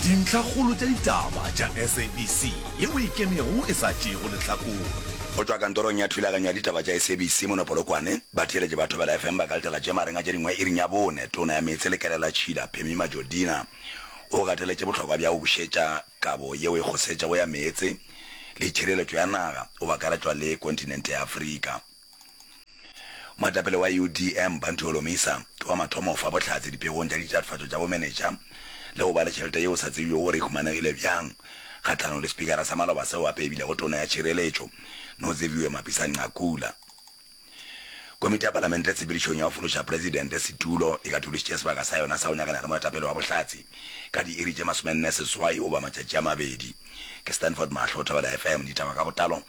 Dintlhakgolo tša ditaba tša SABC yeo e ikemego e sa tšeego lehlakore. Go tšwa kantorong ya thulaganyo ya ditaba tša SABC mono Polokwane, batheeletši ba Thobela FM ba ka letela tše magareng a tše dingwe iring ya bone. Tona ya Meetse le Kelelatšhila, Phemie Majodina, o gateletše bohlokwa bja go bušetša kabo yeo e kgosetšego ya meetse le tšhireletšo ya naga go akaretšwa le kontinente ya Afrika. Moetapele wa UDM, Bantu Holomisa, ke wa mathomo go fa bohlatse dipegong tša ditatofatšo tša bomenetša le go ba le tšhelete yeo sa tsebjego gore e humanegile bjang kgahlanong le sepikara sa maloba seo gape e bilego tona ya tšhireletšo, Noziviwe Mapisa-Nqakula. Komiti ya Palamente tshepedišong ya go fološa Presidente setulo e katološitše sebaka sa yona sa go nyakana le moetapele wa bohlatse ka diiri tše 48 goba matšatši a mabedi. Ke Stanford Mahlo, Thobela FM, ditaba ka botlalo,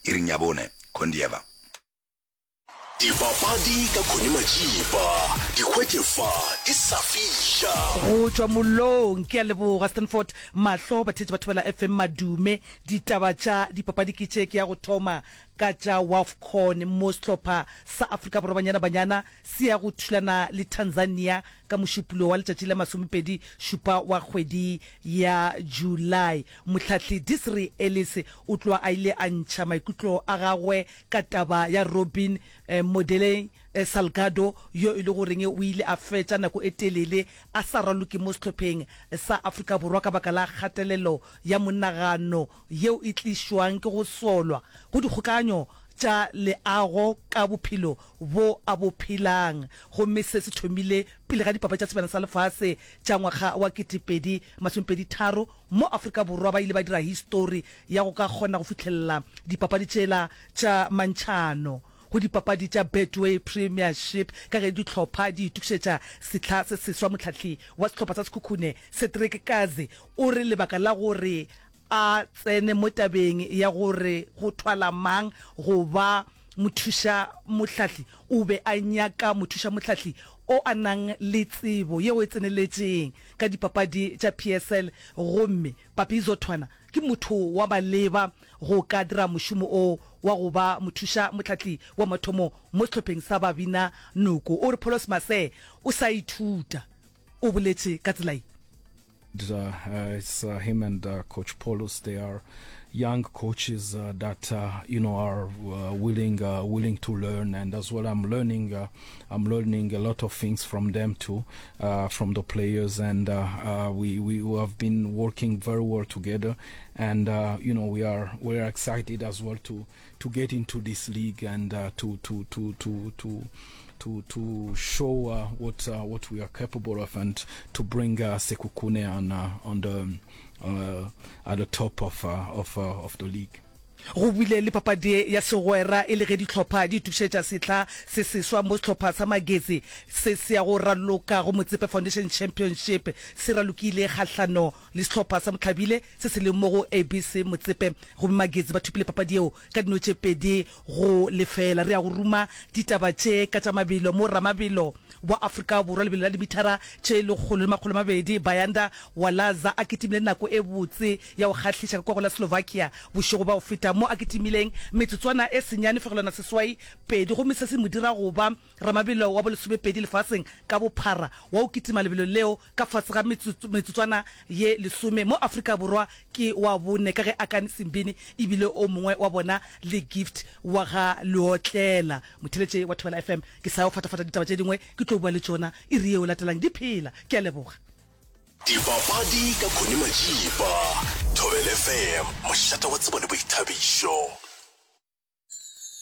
iring ya bone, Kondieva. Dipapadi ka Connie Majiba, di hwetše fa di sa fiša. Go tšwa mollong, ke a leboga Stanford Mahlo, batheetši ba Thobela FM Madume. Ditaba tša dipapadi ke tše, ke ya go thoma ka tša Wafcon mo sehlopha sa Afrika Borwa Banyana Banyana se ya go thulana le Tanzania ka Mošupulogo wa letšatši la masomepedi šupa wa kgwedi ya July. Mohlahli Desiree Ellis o tloga a ile a ntšha maikutlo a gagwe ka taba ya Robin Modeley Salgado yo e le goreng o ile a fetša nako e telele a sa raloke mo sehlopheng sa Afrika Borwa ka baka la kgatelelo ya monagano yeo e tlišwang ke go solwa go dikgokaganyo tša leago ka bophelo bo a bo phelang gomme se se thomile pele ga dipapadi tša Sebjana sa Lefase tša ngwaga wa 2023 Mo Afrika Borwa ba ile ba dira histori ya go ka kgona go fihlelela dipapadi tšela tša mantšhano go dipapadi tša Betway Premiership ka ge dihlopha di itokišetša sehla se seswa. Mohlahli wa sehlopha sa Sekhukhune, Cedric Kaze, o re lebaka la gore a tsene mo tabeng ya gore go thwala mang go ba mothušamohlahli o be a nyaka mothušamohlahli o a nang le tsebo yeo e tseneletšeng ka dipapadi tša PSL gomme Papi Zothwana ke motho wa maleba go ka dira mošomo o wa go ba mothuša mohlahli wa mathomo mo sehlopheng sa Babina Noko. O re Paulos Masee o sa ithuta, o boletše ka tsela ye. Uh, it's uh, him and uh, Coach Paulos. They are young coaches uh, that uh, you know are uh, willing uh, willing to learn, and as well, I'm learning uh, I'm learning a lot of things from them too, uh, from the players, and uh, uh, we we have been working very well together, and uh, you know we are we are excited as well to to get into this league and uh, to to to to to to to show uh, what uh, what we are capable of and to bring uh, Sekhukhune on uh, on the uh, at the top of uh, of uh, of the league. Go bile le papadi ya segwera e le ge dihlopha di itokišetša sehla se seswa mo sehlopha sa Magesi se se ya go raloka go Motsepe Foundation Championship se ralokile kgahlano le sehlopha sa Mohlabile se se leng mo go ABC Motsepe gomme Magesi ba thopile papadi yeo ka dino tše pedi go lefeela. Re ya go ruma ditaba tše ka tša mabelo mo ramabelo wa Afrika Borwa lebelo la dimithara tše 120 Bayanda Walaza a kitimile nako e botse ya go kgahliša ka kwa go la Slovakia bošego bja go feta mo a kitimileng metsotswana e senyane fegelwana seswai pedi gomme se se mo dira go ba ramabelo wa bolesomepedi lefaseng ka bophara wa go kitima lebelo leo ka fase ga metsotswana ye lesome mo Afrika Borwa ke wa bone ka ge Akani Simbine e bile o mongwe wa bona le Gift wa ga Leotlela. Motheeletše wa Thobela FM, ke sa yo fatafata ditaba tše dingwe ke tlo bua le tšona iri yeo latelang di phela. Ke a leboga. Dipapadi ka Connie Majiba, Thobela FM, mošate wa tsebo le boithabišo.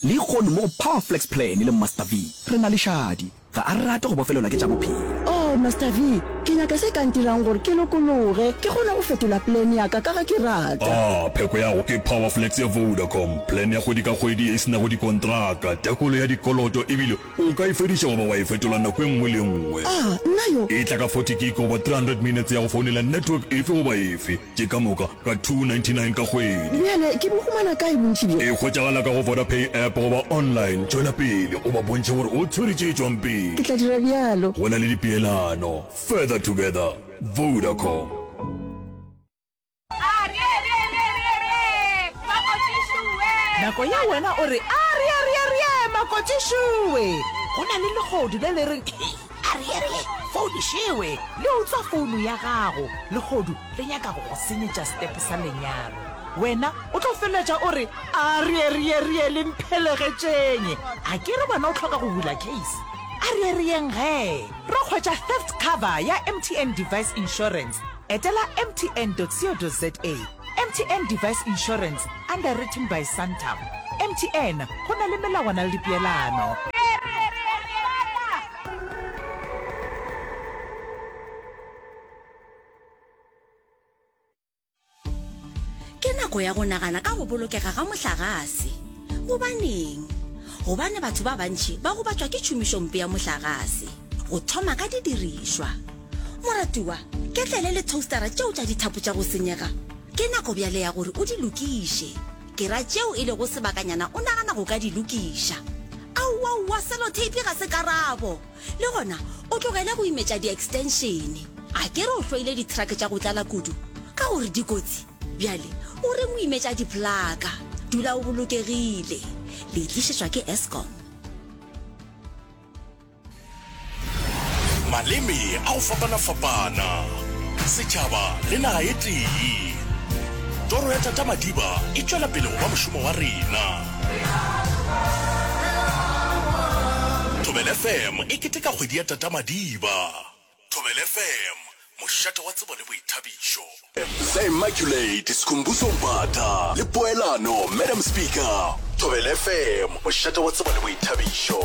Lehono mo go Power Flex Plan le Master V, re na le Shadi. Ga a rate go bofelelwa ke tša bophelo. Oh, Master V, ke nyaka se ka ntirang gore ke lokologe, ke kgone go fetola plan ya ka ka ge ke rata. Ah, pheko ya go ke Power Flex ya Vodacom, plan ya kgwedi ka kgwedi ye e se nago dikontraka, tekolo ya dikoloto ebile o ka e fediša goba wa e fetola nako e nngwe le e nngwe. Ah, nna yo! E tla ka 40 gig goba 300 minutes ya go founela network efe goba efe. Tše ka moka ka 299 ka kgwedi. Bjale ke bo humana kae bontši bjo? E hwetšagala ka go Vodapay app goba online. Tšwela pele o ba bontšhe gore o tshwere tše tšwang pele. Ke tla dira bjalo. Go na le dipeelano. Further together. Vodacom. Nako ye wena o re, Arieariearie, makotšišoe! Go na le lehodu le le reng, Ariearie! Founu šewe, le utswa founu ya gago, lehodu le nyaka go go senyetša setepe sa lenyalo. Wena o tlo feleletša o re, A re re re le mphelegetšeng. A ke re wena o hloka go bula case? A re reyeng gee. Ro hwetša theft cover ya MTN Device Insurance. Etela mtn.co.za. MTN Device Insurance, underwritten by Santam. MTN, go na le melawana le dipeelano. Ke nako ya go nagana ka go bolokega ga mohlagase. Gobaneng? Gobane batho ba bantši ba gobatšwa ke tšhomišompe ya mohlagase, go thoma ka didirišwa. Moratiwa, ketlele le toastara tšeo tša dithapo tša go senyega, ke nako bjale ya gore o di lokiše. Ke ra tšeo e lego sebakanyana o nagana go ka di lokiša. Aowaowa, seloteipi ga se karabo! Le gona o tlogele go imetša di-extension. A ke re o hloile di-truck tša go tlala kudu ka gore di kotsi? Bjale o reng o imetša di-plaka? Dula o bolokegile. Le e tlišetšwa ke Eskom. Maleme a go fapana-fapana, setšhaba le naga e tee. Toro ya Tata Madiba e tšwela pele go ba mošomo wa rena. Thobela FM e keteka kgwedi ya Tata Madiba. Thobela FM, mošate wa tsebo le boithabišo. The Immaculate Skhumbuzo Mbatha le Poelano Madam Speaker. Thobela FM, mošate wa tsebo le boithabišo.